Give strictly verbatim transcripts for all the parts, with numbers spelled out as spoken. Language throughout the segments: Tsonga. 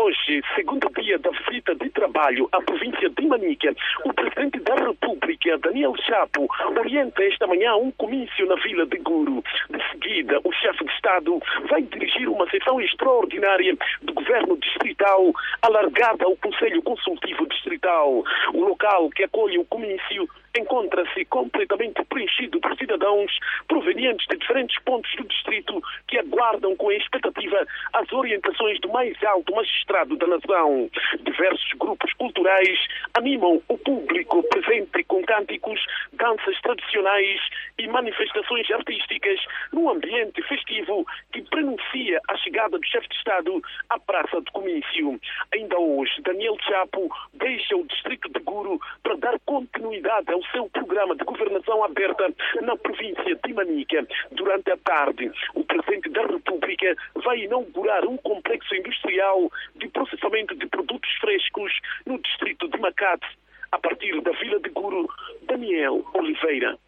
Hoje, segundo dia da visita de trabalho à província de Manica, o presidente da República, Daniel Chapo, orienta esta manhã um comício na vila de Guro. De seguida, o chefe de Estado vai dirigir uma sessão extraordinária do governo distrital, alargada ao Conselho Consultivo Distrital. O local que acolhe o comício encontra-se completamente preenchido por cidadãos provenientes de diferentes pontos do distrito que aguardam com expectativa as orientações do mais alto magistrado da nação. Diversos grupos culturais animam o público presente com cânticos, danças tradicionais e manifestações artísticas num ambiente festivo que prenuncia a chegada do chefe de Estado à Praça do Comício. Ainda hoje, Daniel Chapo deixa o distrito de Guro para dar continuidade ao seu programa de governação aberta na província de Manica. Durante a tarde, o presidente da República vai inaugurar um complexo industrial de processamento de produtos frescos no distrito de Macate. A partir da vila de Guro, Daniel Oliveira.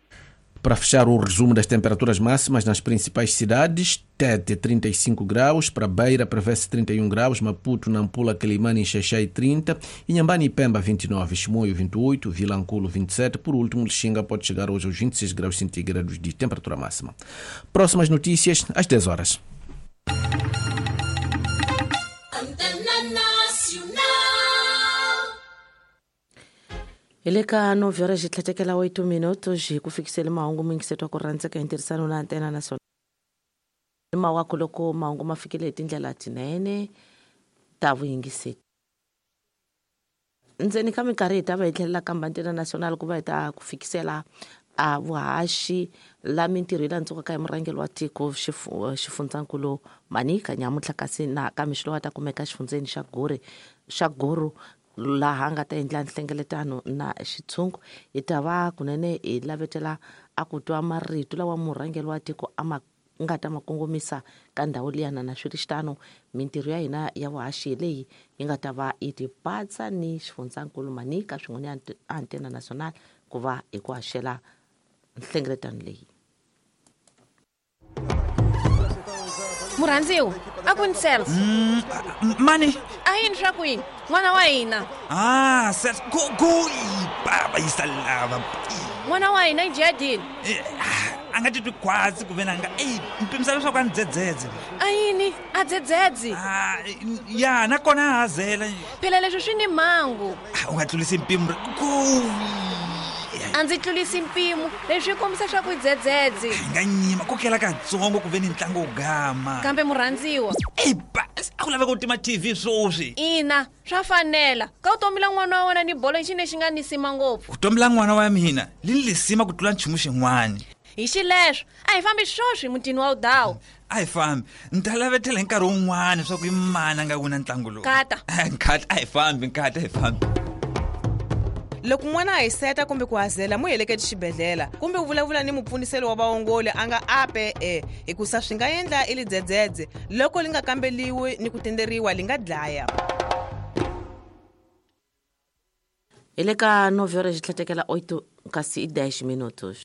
Para fechar o resumo das temperaturas máximas nas principais cidades, Tete trinta e cinco graus, para Beira prevê-se trinta e um graus, Maputo, Nampula, Quelimane e Xaixai trinta, Inhambane e Pemba vinte e nove, Chimoio vinte e oito, Vilanculo vinte e sete, por último, Lixinga pode chegar hoje aos vinte e seis graus centígrados de temperatura máxima. Próximas notícias às dez horas. Hi le ka nove horas hi tlhetekela oito minutos hi ku fikisele mahungu muyingiseti wa ku rhandzeka hi ntirhisano na Antena Nacional. Mawaku loko mahungu ma fikile hi tindlela tinene ta vuyingiseti. Ndzeni ka minkarhi hi ta va hi tlhelela kambe Antena Nacional ku va hi ta ku fikisela a vuhaxi la mintirho yi landzukaka hi murhangeri wa tiko xifundzankulu Manica nyamuntlha kasi na ka mixo lowu a ta kumeka exifundzeni xa Guri xa Guru laha a nga ta endla nhlengeletano na xitshungu. Hi ta va kunene hi lavetela a ku twa marito lawa murhangeri wa tiko a ma nga ta ma kongomisa ka ndhawu liyana na swi ri xitano mintirho ya hina ya vuhaxi leyi yi nga ta va yi tipatsa ni xifundzankulu Manica swin'we ni Antena Nacional ku va hi ku haxela nhlengeletano leyi. Murhandziwa, a ku ni Celso. Mm, mani? A yini swa ku yini? N'wana wa hina. Ah, Celso, ku ku baba yisa lava. N'wana wa hina i jadini. A nga titwi khwatsi ku ve na nga ey mpimisa leswaku a ni dzedzedze. A yini? A dzedzedze? Ah, ya nakona a hazela. Phela leswi swi ni mhangu. U nga tlulisi mpimo ku A ndzi tlulisi mpimo leswi kombisa swa ku dzedzedze. Hi nga nyima ku kela katsongo ku ve ni ntlangu wo gama. Kambe murhandziwa. Ey ba, a ku laveka ku tima T V swoswi. Ina, swa fanela. Ka vutomi la n'wana wa wena ni bolo i xi lexi nga ni sima ngopfu. Vutomi la n'wana wa mina li ni lisima ku tlula nchumu xin'wana. Hi xileswo, a hi fambi swoswi mutini wa Udawu. A hi fambi. Ni ta lavetela hi nkarhi wun'wana swa ku i mani a nga wina ntlangu lowu. Nkata. Nkata, a hi fambi, nkata, a hi fambi. Loko n'wana a hiseta kumbe ku hazela mu heleketi xibedhlele kumbe u vulavula ni mupfuniseli wa vaongoli a nga ape e hikusa swi nga endla i lidzedzedze loko li nga kambeliwi ni ku tenderiwa li nga dlaya. Hi le ka nove horas hi tlhetekela oito kasi i dez minutos.